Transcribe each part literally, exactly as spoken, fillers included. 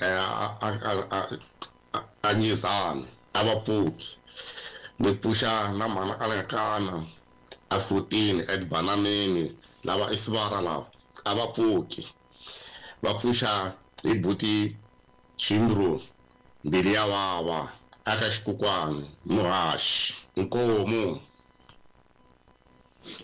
a a a Nyizani a va pfuki. Ni pfuxa na mhana Anakana a fourteen eBananeni lava i sivara lava a va pfuki. Va pfuxa hi buti Chimbro mbili ya vava aka Xikukwani muhaxi inkomu.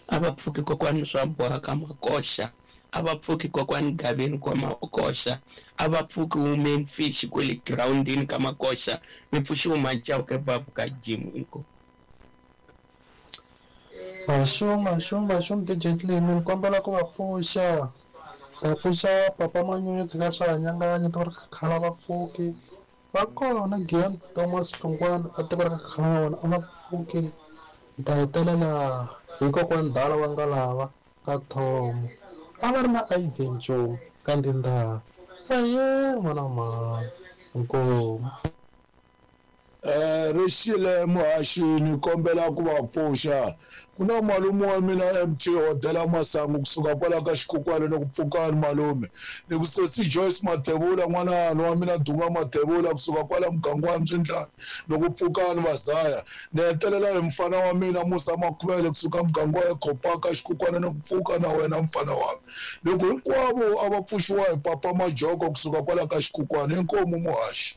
A va pfuki kokwani swa boha ka Makoxa, a va pfuki kokwani Gaveni kwa Makoxa, a va pfuki women fish kwele groundini ka Makoxa, mi pfuxiwa Machauke babu ka Jim inkomu. Maxuma maxuma maxuma D J Clem ni kombela ku va pfuxa. Ta pfuxa papa Manyunyu tshika swa hanyanganya tiko ra khakhala va pfuki. Va kona Gian Thomas Hlongwane a tiko ra khakhala na vona a va pfuki. Ni ta hetelela hi kokwani Dala wa Ngalava ka Thomo. A va ri na Ivan Joe ka Ndindana. Eya n'wana mhani inkomu. Eh rixile muhaxi ni kombela ku va pfuxa. Ku na malume wa mina M T Hodela Masangu kusuka kwala ka Xikukwani ni ku pfukani malume. Ni ku sesi Joyce Mathebula n'wana wa mina Dunga Mathebula kusuka kwala muganga wa Mbyindlani ni ku pfukani Vazaya. Ni hetelela hi mfana wa mina Musa Makhuvele kusuka muganga wa Khopaka Xikukwani ni ku pfuka na wena mfana wa mina. Loko hinkwavo a va pfuxiwa hi papa Majoko kusuka kwala ka Xikukwani inkomu muhaxi.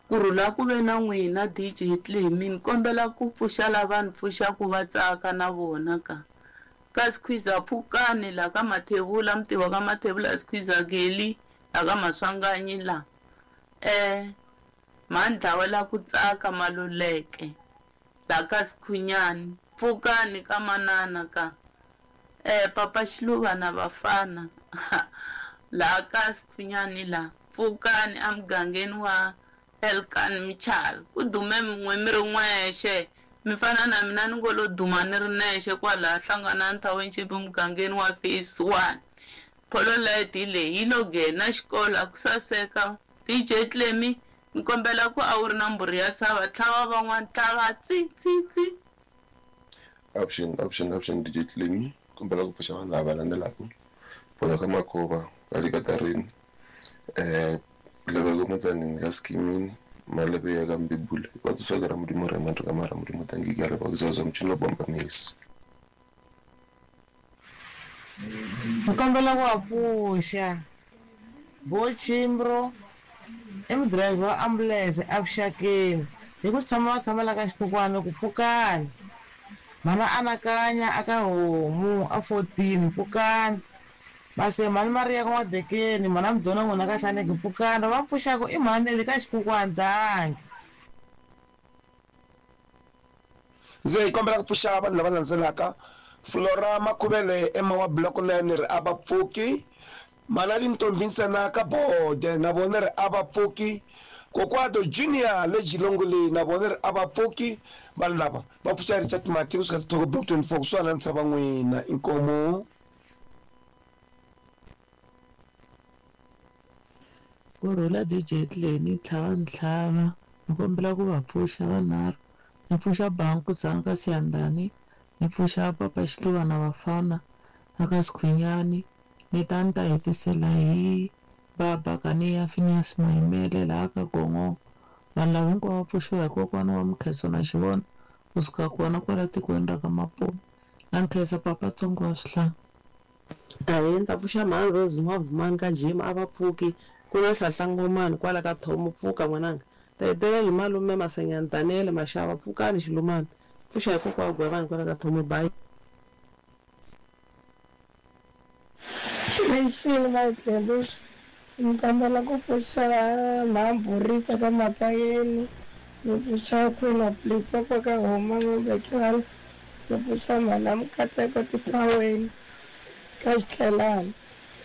Kurhula ku ve na n'wina D J Clem, ni kombela ku pfuxa lava ni pfuxaku va tsaka na vona ka. Ka Skhwiza pfukani la ka Mathebula, muti wa ka Mathebula Skhwiza Geli la ka Maswanganyi la. Eh Mandla la ku tsaka Maluleke la ka Sikhunyani, pfukani ka manana ka. Eh papa Xiluva na vafana la ka Sikhunyani la, pfukani emugangeni wa Elkan Michavi. Ku dume min'we mi ri n'wexe mi fana na mina ni ngo lo duma ni ri nexe kwalaha Hlanganani Township mugangeni wa phase one. Polo light leyi yi lo nghena xikolo a ku saseka. D J Clem ni kombela ku a wu ri na mbhuri ya tshava tlhava van'wana tlhava tsi tsi tsi. Option option option D J Clem kombela ku pfuxa vanhu lava landzelaka. Bola ka Makova ka le Katarini eh Lebego Motsaneng ka Skimini Malebe ya ka Mbibule va tswaka ra Modimo re mantho ka mara Modimo tangi ka re ba kuzaza mchino bomba misi. Ni kombela ku va pfuxa Bo Chimbro i mudirayivhi wa ambulense evuxakeni hi ku tshama va tshama la ka Xikukwani ku pfukani. Mhana anakanya aka homu a fourteen pfukani. Mase mhani Maria ka N'wadekeni mhana Mdona n'wina ka Hlaneki pfukani. Va pfuxaku i mhani le ka Xikukwani dangi. Ndzi kombela ku pfuxa vanhu lava landzelaka. Flora Makhuvele Emma wa Block nine ri a va pfuki. Mhana Tintombi ntsena ka Bode na vona ri a va pfuki. Kokwado Junior le Jilongole na vona ri a va pfuki. Vanhu lava va pfuxa Richard Mati kusuka Toko Block twenty-four kusuhana na ntshava n'wina inkomu. Kurhula D J Clem tlhava ntlhava ni kombela ku va pfuxa vanharhu. Ni pfuxa Banku Dzanga Siyandhani, ni pfuxa papa Xiluva na vafana aka Sikhunyani, ni ta ni ta hetisela hi baba Kaniya Phineas Mayimele laha ka Gongongo. Vanhu lava hinkwavo va pfuxiwa hi kokwana wa Mukheso na Xivona kusuka kona kwala tikweni ra ka Mapume. Na nkhensa papa Tsongo wa Swihlanga. Ahee ni ta pfuxa mhani Rose N'wavumani ka Jim a va pfuki. Ku na Hlahlangomani kwala ka Thomo pfuka n'wananga. Ta hetelela hi malume Masenyani Daniel Mashava pfukani Xilumani. Pfuxa hi kokwa wa Gwavani kwala ka Thomo bye. Rixile Matlhelo ni kombela ku pfuxa Mhamburisa ka Mapayeni, ni pfuxa Queen of Limpopo ka Homa N'wambekana, ni pfuxa Mhana Mukateko Tiphaweni ka Xitlhelani,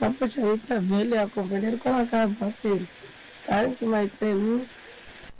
va pfuxa hi Thavheli ya kumbe ni ri kwala ka Bapeni. Thank you Matlhelo.